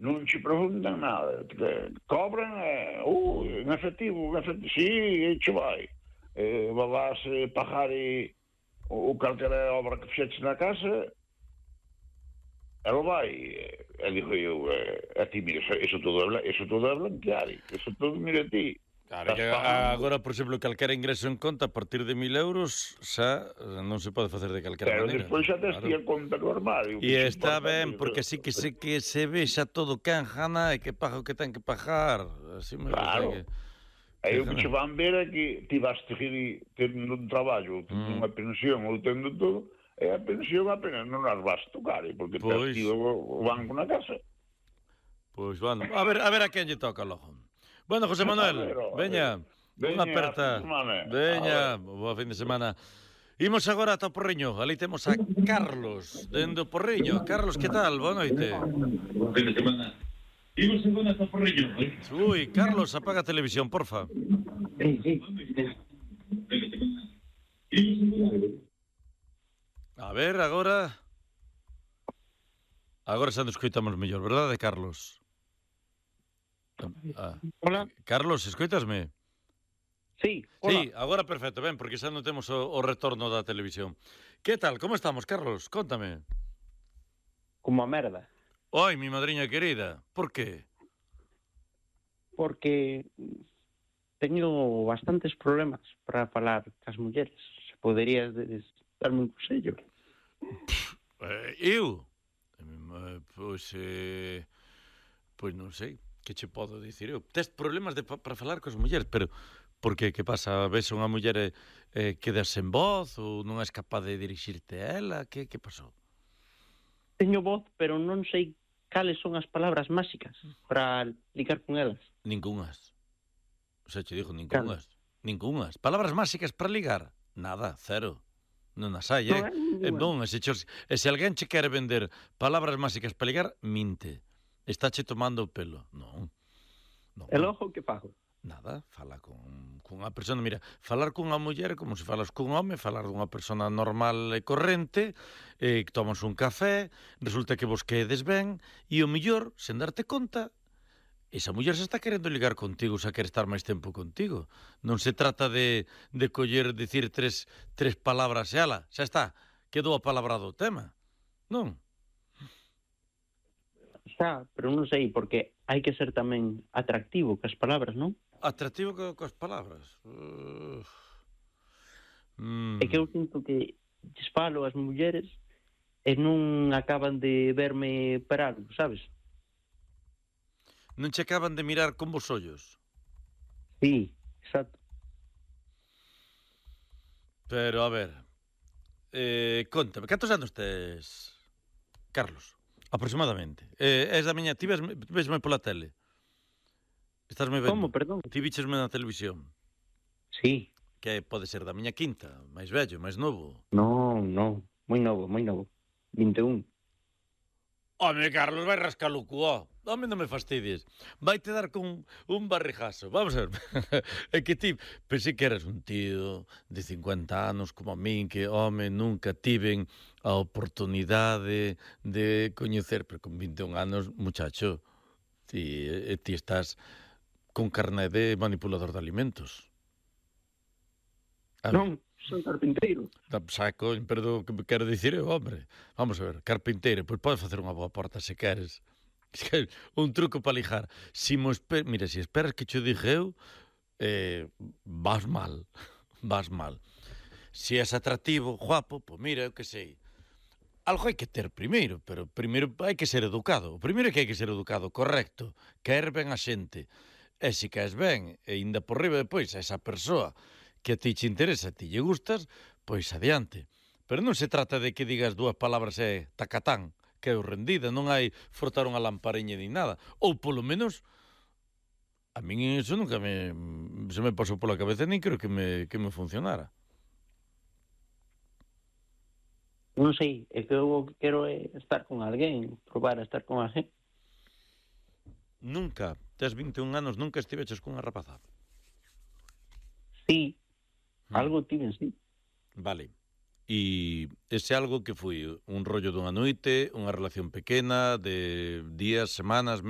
non ci preguntan nada, cobran en efectivo, sí, che vai. Vas pagar o calquera obra que fixeches na casa, ela vai, e digo eu, a ti, mira, eso todo é blanquear, eso todo, mira ti. Claro, que agora, por exemplo, calquera ingreso en conta a partir de 1.000 euros xa non se pode facer de calquera maneira. Pero despois xa tes ti a conta no armario. E está ben, porque así que se ve xa todo quen gana e que paga o que ten que pagar. Así me claro. Que... E o que che van ver é que ti vas tendo un traballo, tendo unha pensión ou tendo todo, e a pensión apenas non as vas tocar, porque tes ti o banco na casa. Pois, bueno, a ver a quen lle toca logo. Bueno, José Manuel, veña, unha aperta. Veña, boa fin de semana. Imos agora ata o Porriño. Ali temos a Carlos, dende o Porriño. Carlos, que tal? Boa noite. Boa fin de semana. Imos agora ata o Porriño. Ui, Carlos, apaga a televisión, porfa. A ver, agora... Agora xa nos escoitamos mellor, verdade, Carlos? Hola. Carlos, escoitasme? Sí, hola. Sí, agora perfecto, ben, porque xa non temos o retorno da televisión. Que tal, como estamos, Carlos? Cóntame. Como a merda. Oi, mi madriña querida, por qué? Porque teño bastantes problemas para falar cas mulleres. Se poderías darme un consello. Eu? Pois non sei. Que che podo dicir eu? Tes problemas para falar cos mulleres, pero por que? Que pasa? Ves unha muller quedas sen voz ou non és capaz de dirixirte a ela? Que pasou? Teño voz, pero non sei cales son as palabras máxicas para ligar con elas. Ningunhas. O sea, che digo, ningunhas. Claro. Ningunhas. Palabras máxicas para ligar? Nada, cero. Non as hai, Non, e se alguén che quere vender palabras máxicas para ligar, minte. Está che tomando o pelo. Non. E logo que fago? Nada, fala con unha persona. Mira, falar cunha muller como se falas cun home, falar dunha persona normal e corrente, que tomas un café, resulta que vos quedes ben, e o mellor, sen darte conta, esa muller se está querendo ligar contigo, xa quere estar máis tempo contigo. Non se trata de coller, dicir tres palabras e ala, xa está, quedou a palabra do tema. Non? Xa, pero non sei, porque hai que ser tamén atractivo cas palabras, non? Atractivo coas palabras? É que eu sinto que lles falo as mulleres e non acaban de verme para algo, sabes? Non che acaban de mirar con vos ollos? Sí, exacto. Pero, a ver, contame, cantos anos tes, Carlos? Aproximadamente. És da miña... Ti vesme pola tele? Estásme vendo? Como, perdón? Ti víchesme na televisión? Sí. Que pode ser da miña quinta, máis vello, máis novo? Non, moi novo. 21. Home, Carlos, vai rascar o cuó. Home, non me fastidies. Vai te dar con un barrijazo. Vamos a ver. É que ti pensei que eras un tío de 50 anos como a min, que, home, nunca tiven a oportunidade de coñecer, pero con 21 anos, muchacho, ti estás con carné de manipulador de alimentos. Non, son carpinteiro. Saco, pero que quero dicir eu, hombre. Vamos a ver, carpinteiro, pois podes facer unha boa porta se queres. Un truco para lijar. Mira, se esperas que cho diga eu, vas mal. Se és atractivo, guapo, pois mira, eu que sei. Algo hai que ter primeiro, pero primeiro hai que ser educado. O primeiro é que hai que ser educado, correcto. Caer ben a xente. E se caes ben, e ainda por riba depois a esa persoa que a ti che interesa, a ti lle gustas, pois adiante. Pero non se trata de que digas dúas palabras e tacatán, que é o rendida, non hai frotar unha lampariña ni nada. Ou polo menos, a min iso nunca se me pasou pola cabeza, nin creo que me funcionara. Non sei, é que eu quero estar con alguén, probar a estar con alguén. Nunca, tes 21 anos, nunca estiveches cunha rapaza? Sí, algo tiven, sí. Vale. E ese algo que foi un rollo dunha noite, unha relación pequena, de días, semanas, meses?